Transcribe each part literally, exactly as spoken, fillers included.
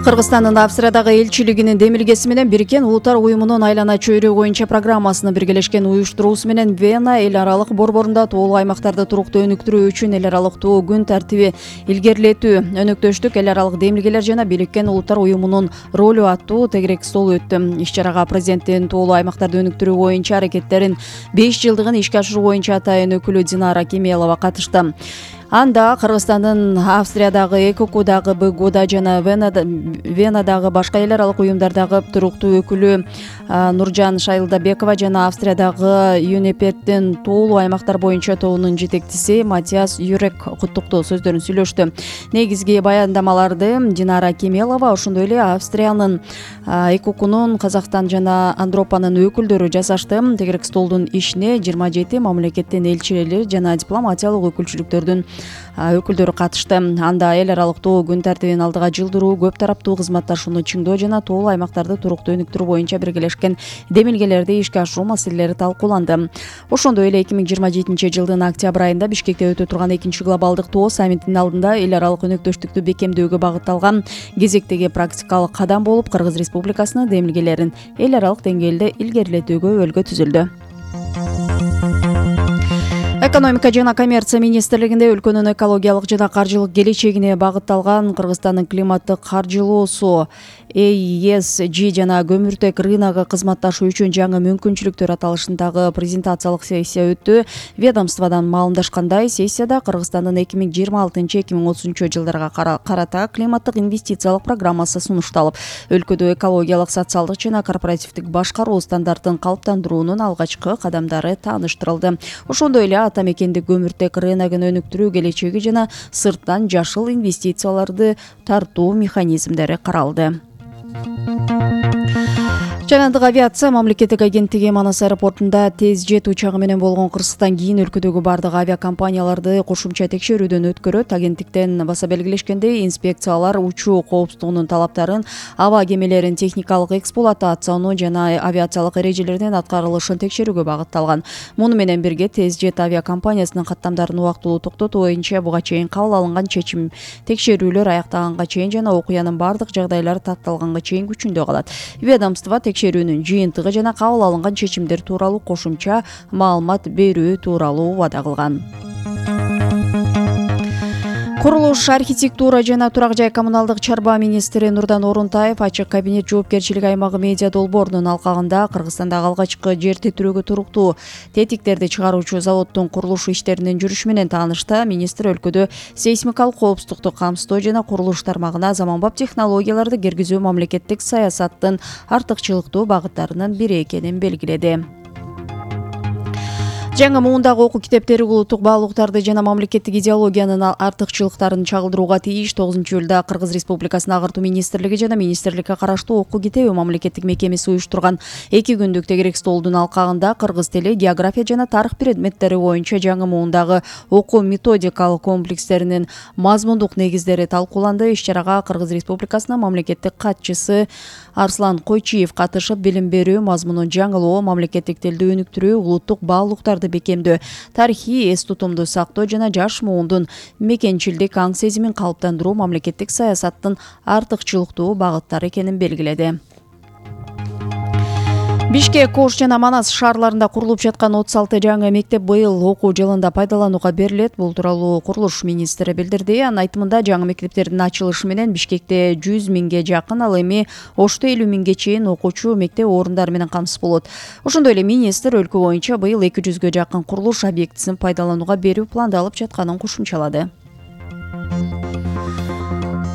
Кыргызстандын Австриядагы элчилигинин демилгеси менен Бириккен Улуттар уюмунун айлана чөйрөгү боюнча программасынын биргелешкен уюштуруусу менен Вена эл аралык борборунда тоолуу аймактарды туруктуу өнүктүрүү үчүн эл аралыктуу күн тартиби илгерилетүү, өнөктөштүк, эл аралык демилгелер жана Бириккен Улуттар уюмунун ролу аттуу тегерек стол өттү. Иш-чарага президенттин тоолуу аймактарды өнүктүрүү боюнча аракеттерин беш жылдыгын ишке ашыруу боюнча атайын өкүлү Динара Кемелова катышты. Анда Кыргызстандын Австриядагы, ЭКОКудагы, БГУда жана Венадагы башка эл аралык уюмдардагы туруктуу өкүлү Нуржан Шайлдабекова жана Австриядагы ЮНЕПЕРдин тоолуу аймактар боюнча тобунун жетекчиси Матиас Юрек куттуктоо сөздөрүн сүйлөштү. Негизги баяндамаларды Динара Кемелова, ошондой эле Австриянын, ЭКОКунун, Казакстан жана Андропанын өкүлдөрү жасашты. Тегерек столдун ишине жыйырма жети мамлекеттин элчилери жана дипломатиялык өкүлчүлүктөрдүн өкүлдөрү катышты. Анда эл аралыктуу күн тартибин алдыга жылдыруу, көп тараптуу кызматташууну чыңдоо жана тоолуу аймактарды туруктуу өнүктүрүү боюнча биргелешкен демилгелерди ишке ашыруу маселелери талкууланды. Ошондой эле эки миң жыйырма жетинчи жылдын октябрь айында Бишкекте өтө турган экинчи глобалдык тоо саммитинин алдында эл аралык өнөктөштүктү бекемдөөгө багытталган кезектеги практикалык кадам болуп, Кыргыз Республикасынын демилгелерин эл аралык деңгээлде илгерилетүүгө өлгө түзүлдү. Экономика жана коммерция министрлигинде өлкөнүн экологиялык жана каржылык келечегине багытталган Кыргызстандын климаттык каржылоосу Э И Эс Жи жана көмүртек рыногу кызматташуу үчүн жаңы мүмкүнчүлүктөр аталышындагы презентациялык сессия өттү. Ведомстводон маалымдашкандай, сессияда Кыргызстандын эки миң жыйырма алтынчы эки миң отузунчу жылдарга карата климаттык инвестициялык программасы сунушталып, өлкөдө экологиялык, социалдык жана корпоративдик башкаруу стандартын калыптандыруунун алгачкы кадамдары тааныштырылды. Ошондой эле ата мекендик көмүртек рыногун өнүктүрүү келечеги жана сырттан жашыл инвестицияларды тартуу механизмдери каралды. Жаандык авиация мамлекеттик агенттиги Манас аэропортунда тез жет учагы менен болгон кырсыктан кийин өлкөдөгү бардык авиакомпанияларды кошумча текшерүүдөн өткөрөт. Агенттиктен баса белгилешкендей, инспекциялар учуу коопсуздугунун талаптарын, аба кемелерин техникалык эксплуатацияны жана авиациялык эрежелердин аткарылышын текшерүүгө багытталган. Муну менен бирге тез жет авиакомпаниясынын каттамдарын убактылуу токтотуу боюнча буга чейин кабыл алынган чечим текшерүүлөр аяктаганга чейин жана окуянын бардык жагдайлары татталганга чейин күчүндө калат. Ведомство текшерүүнүн жыйынтыгы жана кабыл алынган чечимдер тууралуу кошумча маалымат берүү тууралуу убада кылган. Курулуш, архитектура жана турак жай коммуналдык чарба министри Нурдан Орунтаев ачык кабинет жоопкерчилик аймагы медиа долбоорунун алкагында Кыргызстандагы алгачкы жер титирөөгө туруктуу тетиктерди чыгаруучу заводдун курулуш иштеринин жүрүшү менен таанышты. Министр өлкөдө сейсмикалык коопсуздукту камсыздоо жана курулуш тармагына заманбап технологияларды киргизүү мамлекеттик саясаттын артыкчылыктуу багыттарынын бири экенин белгиледи. Жаңы муундагы окуу китептери улуттук баалуулуктарды жана мамлекеттик идеологиянын артыкчылыктарын чагылдырууга тийиш. тогузунчу июлда Кыргыз Республикасынын Агартуу министрлиги жана министрликке караштуу окуу китеби мамлекеттик мекемеси уюштурган эки күндүк тегерек столдун алкагында кыргыз тили, география жана тарых предметтери боюнча жаңы муундагы окуу методикалык комплекстеринин мазмундук негиздери талкууланды. Иш-чарага Кыргыз Республикасынын мамлекеттик катчысы Арслан Койчиев катышып, билим берүү мазмунун жаңылоо, мамлекеттик тилди өнүктүрүү, улуттук баалуулуктарды бекемдөө, тарыхый эс тутумду сактоо жана жаш муундун мекенчилдик аң сезимин калыптандыруу мамлекеттик саясаттын артыкчылыктуу багыттары экенин белгиледи. Бишкек, Ош жана Манас шаарларында курулуп жаткан отуз алты жаңы мектеп быйыл окуу жылында пайдаланууга берилет. Бул тууралуу курулуш министри билдирди. Анын айтымында, жаңы мектептердин ачылышы менен Бишкекте жүз миңге жакын, ал эми Ошто элүү миңге чейин окуучу мектеп орундары менен камсыз болот. Ошондой эле министр өлкө боюнча быйыл эки жүзгө жакын курулуш объектисин пайдаланууга берүү пландалып жатканын кошумчалады.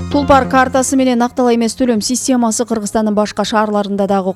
Тулпар картасы менен актала эмес төлөм системасы Кыргызстандын башка шаарларында дагы